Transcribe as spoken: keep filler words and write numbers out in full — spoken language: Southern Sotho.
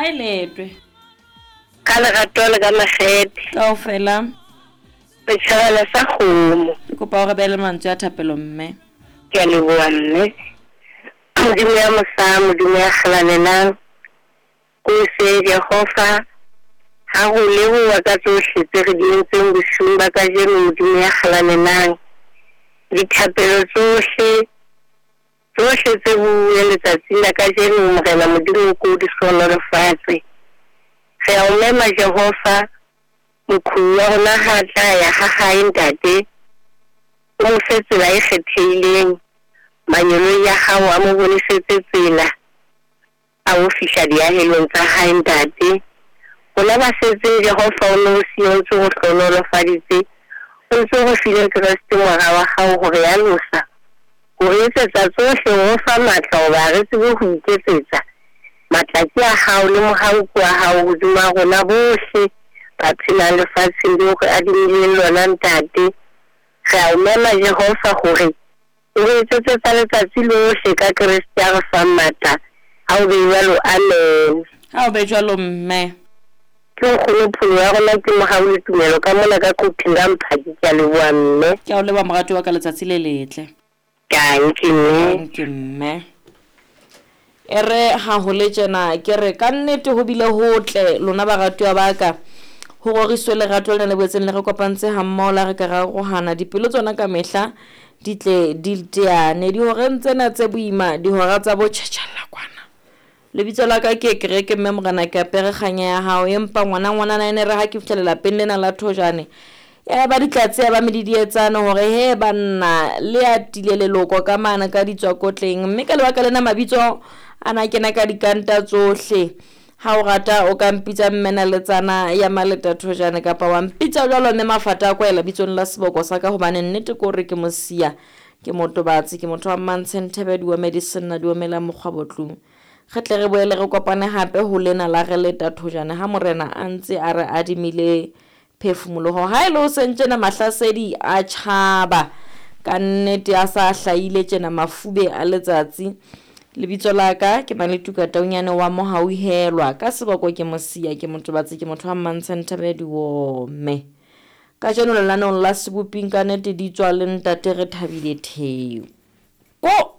Ha e letwe. Ka lerato le ka makgethe. Kaofela. Setjhabana sa kgomo. Ke kopa o re beele mantswe a thapelo mme. Ke a leboha mme. Modimo ya mosa, Modimo ya kgalalelang. Ko se Jehova ha ho leboha ka tsohle tse re di entseng bosiung ba kajeno Modimo ya kgalalelang. Dithapelo tsohle tsohle tse buuweng letsatsing la kajeno Morena Modimo ko di hlohonolofatse. Re a o mema Jehova moqhubu wa rona ha tla ya ha hae ntate. O mo fe tsela e kgethehileng. Mangeloi a hao a mo bonesetse tsela a o fihla diahelong tsa hae ntate. Rona ba setseng Jehova o no siyo o ntse o hlohonolofaditse. O ntse o re file Kreste mora wa hao hore ya losa. Ho re etsetsa tsohle ho fa matla hoba re tsebe ho iketsetsa. Matla ke a hao le mohau ke wa hao hodima rona bohle ba phelang lefatsheng leo re adimileng lona ntate. Re a o mema Jehova hore o re etsetse tsa letsatsi lohle ka Kreste a re fang matla. Ha o be jwalo, amen. Ha o be jwalo mme. Ke nkgono pholo ya rona ke mohau le tumelo ka mona ka Quthing ka Mphaki. Ke a leboha mme. Ke a o leboha moratuwa wa ka letsatsi le letle. Dankie mme. Dankie mme. E re ha ho le tjena ke re ka nnete ho bile hotle lona baratuwa ba ka. Ho roriswe lerato lena le boetseng le re kopantse ha mmoho la re ka ra arohana dipelo tsona ka mehla di tle di teane. Dihoreng tsena tse boima dihora tsa bo tjhetjhella kwana. Lebitso la ka ke kereke mme morena ke apere kganya ya hao empa ngwana ngwanana ene re ha ke fihla lelapeng lena la Thojane ya ba ditlatse ya ba medidietsane hore he banna le atile leloko ka mane ka ditswakotleng mme ka lebaka lena mabitso ana kena ka dikanta tsohle. Ha o rata o ka mpitsa mme naletsana ya Maleta Thojane kapa wa mpitsa jwalo mme Mafata a kwaela bitsong la seboko sa ka hobane nnete ke hore ke mosia ke motobatsi ke motho wa Mmantshe Thebe diome di senna diome la mokgwa botlung. Re tle re boele re kopane hape ho lena la re leta Thojane ha morena a ntse a re adimile phefumoloho. Ha e le ho seng tjena mahlasedi a tjhaba ka nnete a sa hlahile tjena mafube a letsatsi. Lebitso la ka ke Maletuka Taunyane wa Mohauhelwa ka seboko ke mosia ke motobatsi ke motho wa Mmantshe Thebe diome. Kajeno lenaneong la Seboping ka nnete di tswa le ntate re thabile Theo. Ko